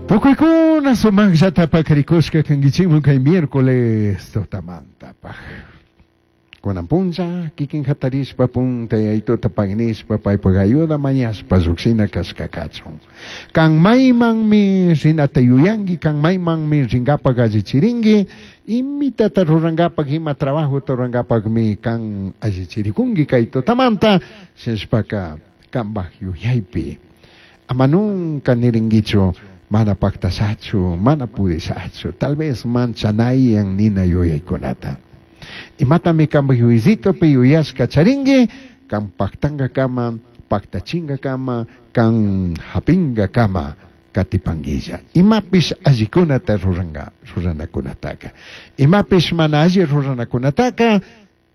Tukuykuna sumaqllata pakarikushka kankichikman kay miércoles tutamantapaq. Kunan punlla kikin hatarishpa punta yaytuta pagnishpa paypak ayuda mañashpa lluqshina kashka kachun. Kan maymanmi rinata yuyanki, kan maymanmi rinkapak allichirinki, imitata rurankapak, ima trabajota rurankapakmi kan allichirikunki kay tutamanta, shinashpaka kanpak yuyaypi. Ama nunca nirinkichu mana paktashachu, mana pudishachu, tal vez manchanayan nina yuyaykunata. Imatami kanpak yuyaycitopi yuyashka charinki, kan paktankakama, paktachinkakama, kan hapinkakama katipankilla. Imapish allikunata ruranka, ruranakunataka. Imapish mana alli ruranakunataka,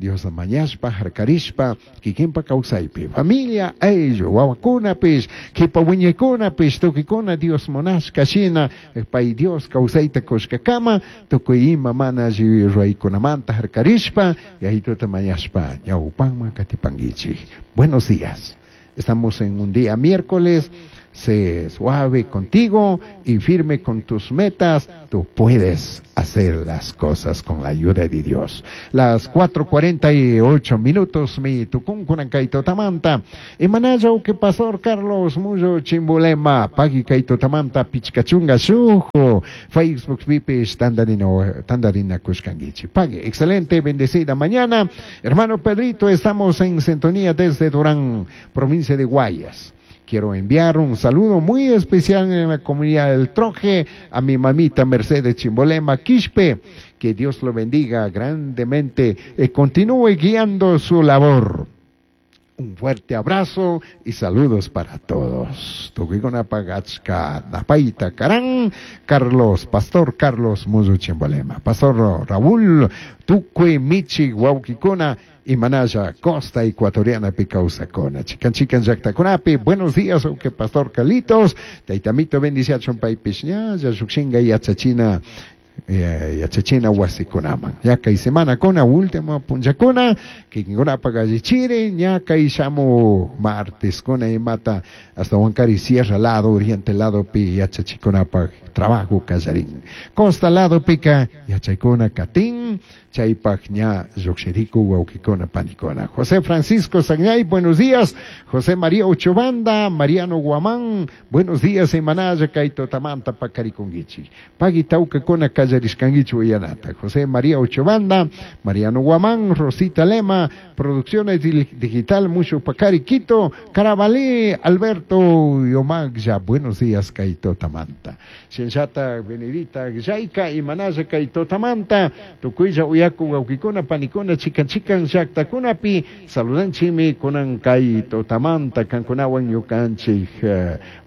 Dios mañashpa, harkarishpa, kikinpa kawsaypi. Familia, ayllu, wawakunapish, kipa wiñaykunapish, tukuykuna Dios munashka shina, pay Dios kawsayta kushkakama, tukuy ima mana alli ruraykunamanta harkarishpa, yayituta mañashpa, ñawpanman katipankichik. Buenos días. Estamos en un día miércoles. Sé suave contigo y firme con tus metas. Tú puedes hacer las cosas con la ayuda de Dios. Las 4:48 minutos, mi tucuncunan kaito tamanta. Imanayo que pastor Carlos Muyo Chimbolema, pagui kaito tamanta, pichcachunga shujo, Facebook pipis, tandarino, tandarina kushkanguichi. Pague, excelente, bendecida mañana. Hermano Pedrito, estamos en sintonía desde Durán, provincia de Guayas. Quiero enviar un saludo muy especial en la comunidad del Troje a mi mamita Mercedes Chimbolema Quispe. Que Dios lo bendiga grandemente y continúe guiando su labor. Un fuerte abrazo y saludos para todos. Tukuykuna pagachka napaita karan, Carlos, Pastor Carlos Muzu Chimbolema, Pastor Raúl, Tukui Michi Wauquicuna y Manaya, Costa Ecuatoriana Picausacona. Chican chican llaqtakunapi, buenos días, que Pastor Carlitos, Taitamito bendiciachun paypish ña, llukshinga yachachina, yachachina wasikunaman. Ya kay semana kuna, último punllakuna, kikinkunapak allichiri, ña kay shamu martes kuna imata hasta Huancari Sierra lado, oriente lado pi yachachikunapak trabajo kallarin. Costa lado pika yachaykuna katin, chaypak ña llukshiriku wawkikuna panikuna. José Francisco Sagnay, buenos días. José María Ochobanda, Mariano Guamán, buenos días, Imanaya, Kaito Tamanta, Pacarikunguichi. Pagui tawkakuna kallarishkanguichi uyanata. José María Ochobanda, Mariano Guamán, Rosita Lema, Producciones Digital, Mucho Pacari, Quito, Carabalí, Alberto Yomagya, buenos días, Kaito Tamanta. Shenshata, Benedita, Yaika, Imanaya, Kaito Tamanta, Tukuylla, Uyaku, Wawkikuna, Panikuna, Chikan, Chikan, Llaqtakunapi, saludanchimi, kunan Kaito Tamanta, kankunawan ñukanchik,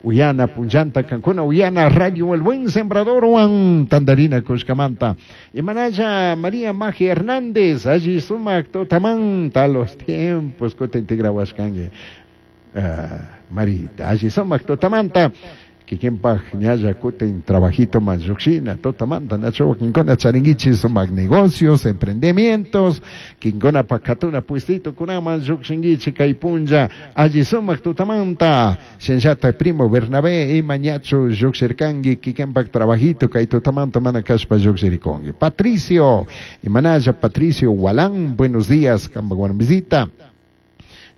Uyana, Punllanta, kankuna, Uyana, Radio El Buen Sembrador, Juan, Tandarina, Kushkamanta. Imanaya, María Magia Hernández, allí sumak Totamanta, los tiempos, kuta integrawashkanki. Marita, allí sumak Totamanta. Kikinpak ñalla kutin trabajito más lluqshina, totamanta, nacho, kinkuna charinguichi sumak negocios, emprendimientos, kinkuna pakatuna puestito kunaman lluqshinguichi kay punlla, alli sumak totamanta, shenllata primo Bernabé, ima ñachu lluqshirkanki, kikinpak trabajito kay totamanta mana kashpa lluqshirikunki. Patricio, imanalla Patricio Walán, buenos días, kampak visita.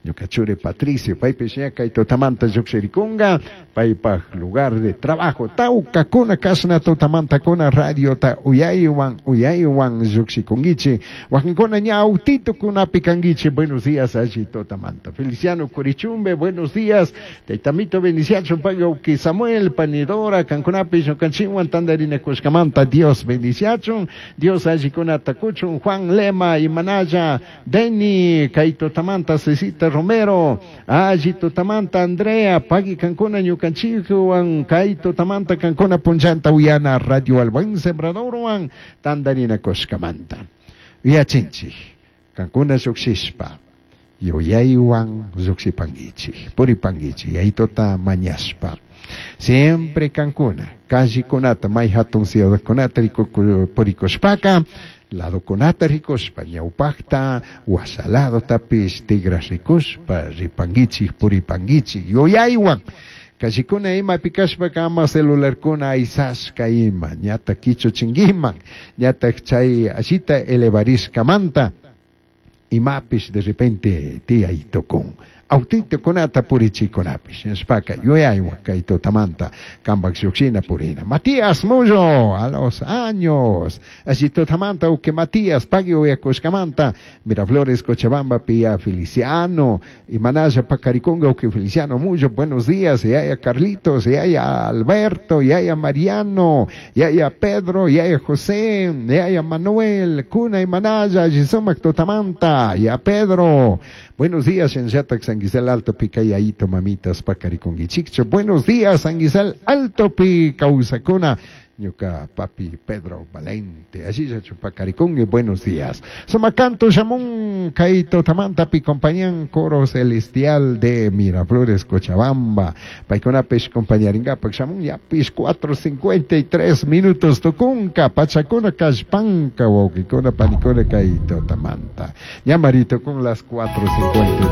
Ñuka Patricio, paypish ña kay tutamanta lluqshirikunga, paypaj lugar de trabajo, tawkakuna kashna tutamantakuna radiota uyaywan, uyaywan lluqshikunkichik, wakinkuna ña autitukunapi kankichik, buenos días alli tutamanta. Feliciano Curichumbe, buenos días, taytamito bendiciachun pay Samuel, Panidora, kankunapi ñukanchikwan tantarinakushkamanta, Dios bendiciachun, Dios allikunata kuchun, Juan Lema, Imanaya, Deni, kay tutamanta, Cecita Romero, alli tutamanta, Andrea, pagui kankuna ñukanchikwan, kay tutamanta kankuna punllanta uyana Radio El Buen Sembradorwan, tantarinakushkamanta. Yachinchik, kankuna lluqshishpa, yuyaywan lluqshipankichik, puripankichik, yaytuta mañashpa. Siempre kankuna, callekunata, may hatun ciudadkunata purikushpaka, ladokunata rikushpa, ñawpaqta, washaladotapis, tigra rikushpa, ripankichik, puripankichik, yuyaywan. Callecuna imapi kashpaka ama celularkuna aysashka ima, ñatak kichuchinkiman, ñatak chay allita elevarishkamanta imapish de repente tiyay tukun. Autitokunata purichikunapish, nishpaka yuyaywan kay tutamanta kampak llukshina purina. Matías Mullo, a los años, allí tutamanta uke Matías pagui uyakushkamanta, Miraflores, Cochabamba, Pía Feliciano, y Manaya Pacariconga, uke Feliciano Mullo, buenos días, yaya Carlitos, yaya Alberto, yaya Mariano, yaya Pedro, yaya José, yaya Manuel, Cuna y Manaya, Gisomac tutamanta, ya Pedro. Buenos días, Shenyatak, San Gisel Alto, Picayaito, mamitas, Pacariconguichicho. Buenos días, San Gisel Alto, Picausacuna. Ñuka papi Pedro Valente, allí ya chupacaricongue, buenos días. Somacanto Shamun, Kaito Tamanta, pi compañán coro celestial de Miraflores, Cochabamba. Paiconapesh compañaringapak Shamun, ya pis 4:53 minutos tucunca, Pachacuna, Cashpanca, Wauquicuna, Panicuna, Kaito Tamanta. Ya marito con las 4:53.